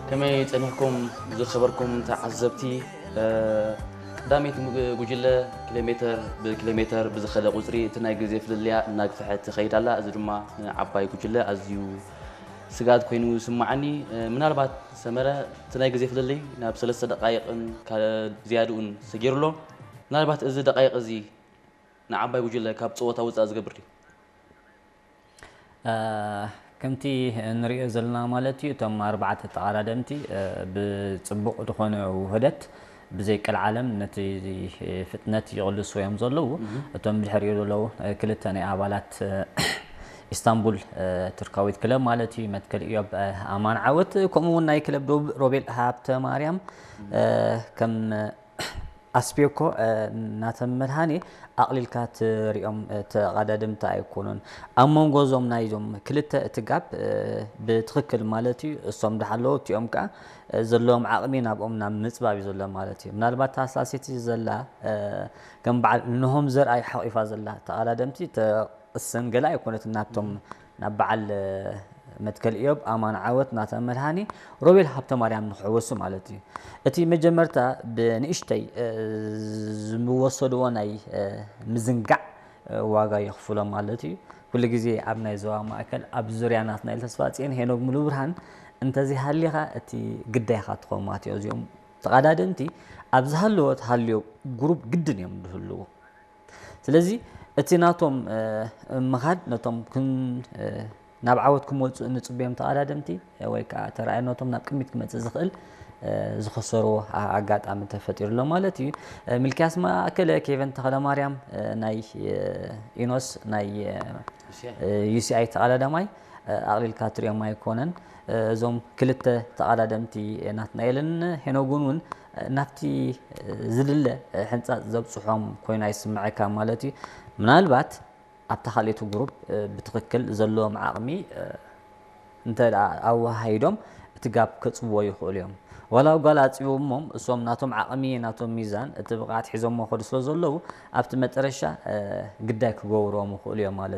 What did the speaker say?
ከመይ ጸኒሕኩም ዝኸበርኩም ተዓዘብቲ? ቀዳመይቲ ጉጅለ ኪሎ ሜተር ብኪሎ ሜተር ብዝኸደ ቁጽሪ እቲ ናይ ግዜ ፍልልያ እናግፍሐት ትኸይድ ኣላ። እዚ ድማ ንዓባይ ጉጅለ ኣዝዩ ስግኣት ኮይኑ ይስምዓኒ። ምናልባት ሰመረ እቲ ናይ ግዜ ፍልልይ ናብ ሰለስተ ደቃይቕን ዝያድኡን ሰጊሩ ኣሎ። ምናልባት እዚ ደቃይቕ እዚ ንዓባይ ጉጅለ ካብ ጸወታ ውጻእ ዝገብር ድዩ? ከምቲ ንሪኦ ዘለና ማለት እዩ፣ እቶም ኣርባዕተ ተቐዳደምቲ ብፅቡቕ ዝኾነ ውህደት ብዘይ ቀልዓለም ነቲ ፍጥነት ይቕልሱ እዮም ዘለዉ። እቶም ብድሕሪኡ ዘለዉ ክልተ ናይ ኣባላት ኢስታንቡል ቱርካዊት ክለብ ማለት እዩ፣ መትከል ኢዮብ ኣማን ዓወት፣ ከምኡ እውን ናይ ክለብ ዶብ ሮቤል ሃብተ ማርያም ከም ኣስቤኮ ናተን መድሃኔ ኣቕሊልካ ትሪኦም ተቐዳደምቲ ኣይኮኑን። ኣብ መንጎ እዞም ናይዞም ክልተ እቲ ጋፕ ብትኽክል ማለት እዩ፣ እሶም ድሓለዉ እቲኦም ከዓ ዘለዎም ዓቕሚ ናብኦም ናብ ምፅባብ እዩ ዘሎ ማለት እዩ። ምናልባት ታሳሲቲ ዘላ ከም በዓል እንሆም ዘርኣይ ሓቒፋ ዘላ ተቐዳደምቲ ተቕስን ገለ ኣይኮነትን ናብቶም ናብ በዓል መትከል ኢዮብ ኣማን ዓወት ናተ መድሃኒ ሮቤል ሃብተ ማርያም ንክሕወሱ ማለት እዩ። እቲ መጀመርታ ብንእሽተይ ዝወሰድዎ ናይ ምዝንጋዕ ዋጋ የኽፍሎም ማለት እዩ። ኩሉ ግዜ ኣብ ናይ ዞባ ማእከል ኣብ ዙርያ ናትናኤል ተስፋጽዮን ሄኖግ ሙሉ ብርሃን እንተዘይሃሊኻ እቲ ግዳይኻ ትኸውን ማለት እዩ። እዚኦም ተቐዳደምቲ ኣብ ዝሃለወ ተሃልዮ ግሩፕ ግድን እዮም ዝህልዉ። ስለዚ እቲ ናቶም ምኻድ ነቶም ናብ ዓወት ክመፁ እንፅብዮም ተቐዳደምቲ ወይ ከዓ ተረኣይነቶም ናብ ቅድሚት ክመፅእ ዝኽእል ዝኸሰርዎ ኣጋጣሚ ተፈጢሩ ኣሎ ማለት እዩ። ሚልክያስ ማእከለ፣ ኬቨን ተኽለማርያም ናይ ኢኖስ ናይ ዩሲኣይ ተቐዳዳማይ ኣቕሊልካ ትሪኦም ኣይኮነን። እዞም ክልተ ተቐዳደምቲ ናትናኤልን ሄኖግን እውን ናብቲ ዝድለ ሕንፃፅ ዘብፅሖም ኮይኑ ኣይስምዐካ ማለት እዩ። ምናልባት ኣብታ ካልኦት ግሩፕ ብትኽክል ዘለዎም ዓቕሚ እንተ ኣወሃሂዶም እቲ ጋፕ ከፅብዎ ይኽእሉ እዮም። ዋላ ጓል ኣፅቢቦሞም እሶም ናቶም ዓቕሚ ናቶም ሚዛን እቲ ብቕዓት ሒዞሞ ከዱ ስለ ዘለዉ ኣብቲ መጠረሻ ግዳይ ክገብርዎም ይኽእሉ እዮም ማለት